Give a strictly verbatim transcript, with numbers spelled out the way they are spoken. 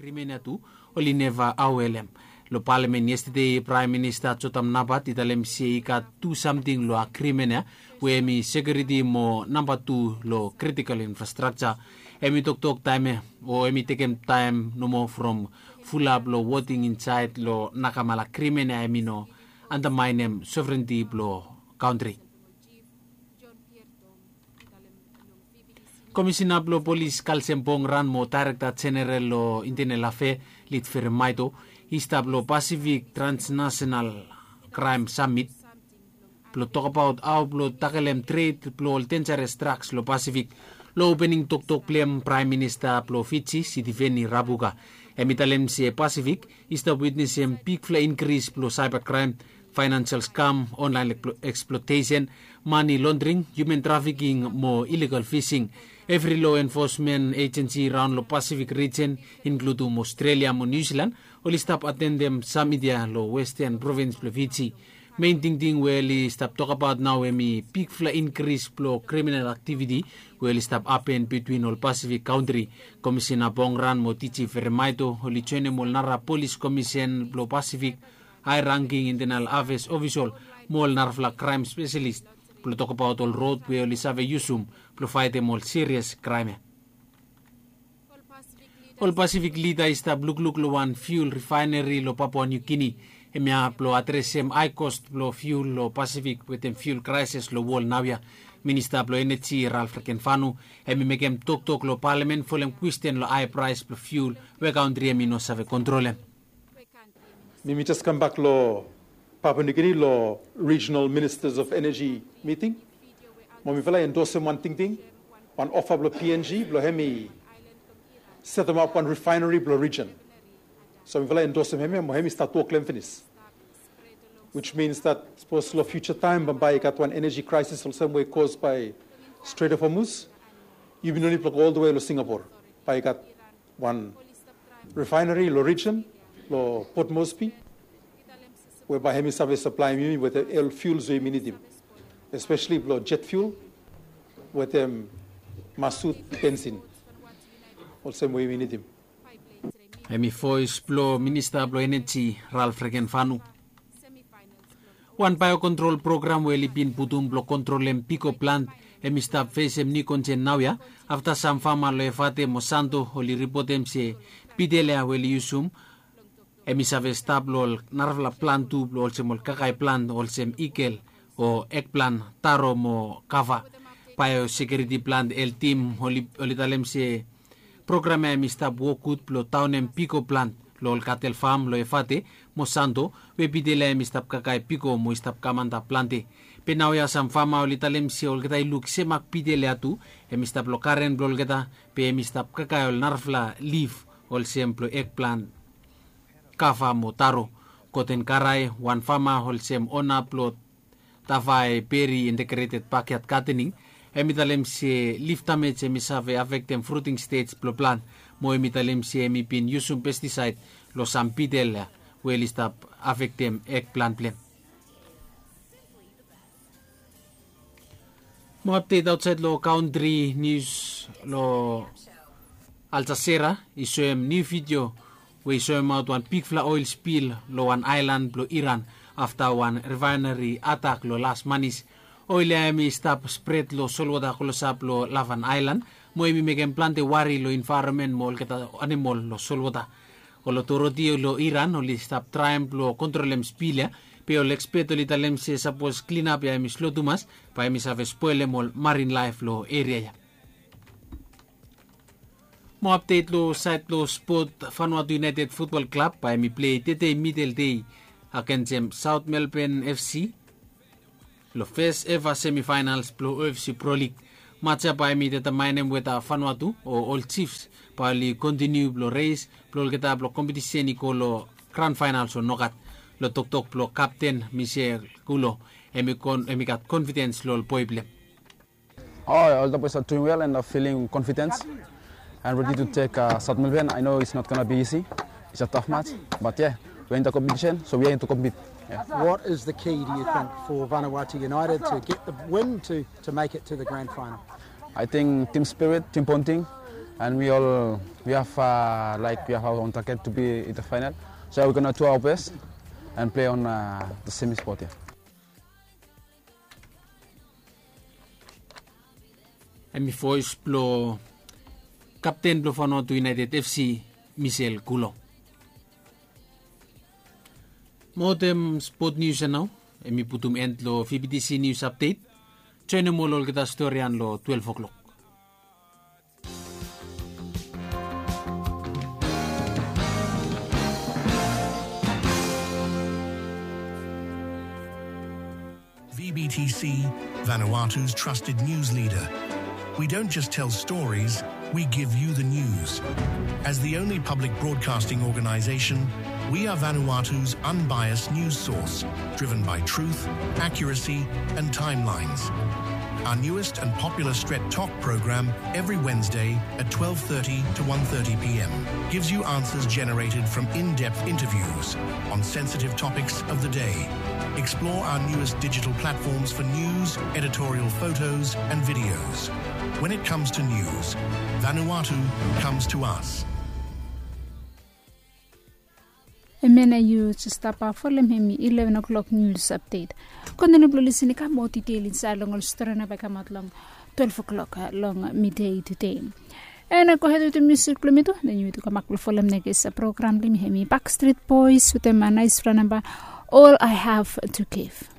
Agrimen ya tu oli neva awelem. Long palamen yestade, Praem Minista Jotam Napat i talem se i gat tu samting long agrimen ya, we hemi sekiuriti mo namba tu long kritikol infrastrakja. Hemi toktok taem ya, o hemi tekem taem nomo from fulap long voting insaed long nakamala agrimen ya, hemi no andamaenem sovrenti blong kantri. Komisena blong polis Kalsem Bongran mo Daerekta Jeneral long Intenel Afea Lit Feremaito i stap long Pasifik Transnasenal Kraem Samit blong tokbaot hao blong takelem tred blong ol denjares draks long Pasifik. Long opening toktok blong hem, Praem Minista blong Fiji Sitiveni Rabuka hemi talem se Pasifik i stap witnesem bigfala inkris blong saeba kraem, faenansial skam, onlaen eksplotesen, mane londring, hiuman trafiking mo ilegal fising. Evri loa enfosmen ejensi raon long Pasifik rijen, inkludum Ostrelia mo Niu Silan, oli stap atendem samit ya long westen provins blong Fiji. Mein tingting we oli stap tokbaot nao hemi bigfala inkris blong kriminal aktiviti we oli stap hapen bitwin ol Pasifik kantri. Komisena Bongran mo Diji Feremaito oli joenem ol nara polis komisen blong Pasifik, hae rangking Intenel Afea ofisol mo ol narafala kraem speselis blong tokbaot ol rod we oli save yusum blong faetem ol sirias kraem ya. Ol Pasifik lida i stap lukluk long wan fiul rifaeneri long Papua Niu Gini, hemia blong adresem hae kos blong fiul long Pasifik wetem fiul kraeses long wol naoia. Minista blong Eneji Ralf Rekenfanu hemi mekem toktok long palamen folem kwesten long hae praes blong fiul we kantri hemi no save kontrolem. Mi mi jes kambak long Papua Niu Gini long Regional Ministers of Energy miting. Mo mifala i endosem wan tingting, wan ofa blong P N G blong hemi setemap wan rifaeneri blong rijen. So mifala i endosem hemia mo hemi stat wok long hem finis. Which means that sapos long fiuja taem bambae i gat wan eneji kraesis olsem we i kos bae Strait of Hormuz, yumi no nid blong go oltawe long Singapore. Bae i gat wan rifaeneri long rijen, long Port Moresby, we bae hemi save saplaem yumi wetem ol fiuls we yumi nidim, espeseli blong jet fiul wetem masut bensin, olsem we yumi nidim. Hemi voes blong Minista blong Eneji Ralf Rekenfanu. Wan baeokontrol program we oli bin putum blong kontrolem piko plant hemi stap fesem niu konsen naoia, afta sam fama long Efate mo Santo oli ripotem se pitel ya we oli yusum hemi save stap long ol narafala plant tu blong olsem ol kakae plant olsem ikel o ekplant, taro mo kava. Baeosekiuriti plant heltim oli talem se program ya hemi stap wok gud blong daonem piko plant long ol katel fam long Efate mo Santo, we pitel ya hemi stap kakae piko mo i stap kam antap plante. Be naoia sam fama oli talem se olgeta i luk semak pitel ya tu hemi stap long garen blong olgeta, be hemi stap kakae ol narafala lif olsem blong ekplant, kava mo taro. Goten Karae, wan fama olsem ona blong Tavae Peri Integrated Backyard Gardening, hemi talem se lif damej hemi save afektem fruting stej blong plant, mo hemi talem se hemi bin yusum pestisaed long sam pitel ya we oli stap afektem ekplant blong hem. Mo apdet aotsaed long kantri, nius long Al Jazeera i soem niu vidio we i soemaot wan bigfala oel spil long wan aelan blong Iran afta wan rifaeneri atak long las manis. Oel ya hemi stap spred long solwota klosap long Lavan aelan, mo hemi mekem plante wari long envaeronmen mo olgeta anamol long solwota. Ol otoriti long Iran oli stap traem blong kontrolem spil ya, be ol ekspet oli talem se sapos klinap ya hemi slo tumas, bae hemi save spolem ol marin laef long eria ya. Mo apdet long saed blong spot, Vanuatu United Futbol Klab bae hemi plei tede midel dei agensem South Melbourne F C long fes eva semifaenals blong O F C Pro League. Maj ya bae hemi detamaenem weta Vanuatu o ol Chiefs bae oli kontiniu blong res blong olgeta blong kompetisen i go long gran faenals o nogat. Long toktok blong kapten Michel Kulo, hemi gat konfidens long ol boe blong hem. Oh, all the boys are doing well and are feeling confidence and ready to take uh, South Melbourne. I know it's not going to be easy. It's a tough match, but yeah, we're in the competition, so we are in to compete. Yeah. What is the key, do you think, for Vanuatu United to get the win to, to make it to the grand final? I think team spirit, team bonding, And we all we have uh, like we have our own target to be in the final. So we're gonna do our best and play on uh, the semi spot here. Hemi voes blo kapten blo Vanuatu United F C, Michel Kulo. Mo wetem spot nius ya nao, hemi putum end lo V B T C nius apdet. Joenem ol olgeta storian lo twelve o'clock. V B T C, Vanuatu's trusted news leader. We don't just tell stories, we give you the news. As the only public broadcasting organization, we are Vanuatu's unbiased news source, driven by truth, accuracy, and timelines. Our newest and popular Stret Talk program every Wednesday at twelve thirty to one thirty p.m. gives you answers generated from in-depth interviews on sensitive topics of the day. Explore our newest digital platforms for news, editorial photos, and videos. When it comes to news, Vanuatu comes to us. Hemia nao yu jes stap folem hemi eleven o'clock news update. Kontiniu blong lisin i kam moa detail insaed long ol stori nao bae i kamaot long twelve o'clock long midei tudei. And gohed wetem musik blong mi tu, then yu tu kambak blong folem nekis program blong mi, hemi Backstreet Boys wetem naesfala namba, All I Have to Give.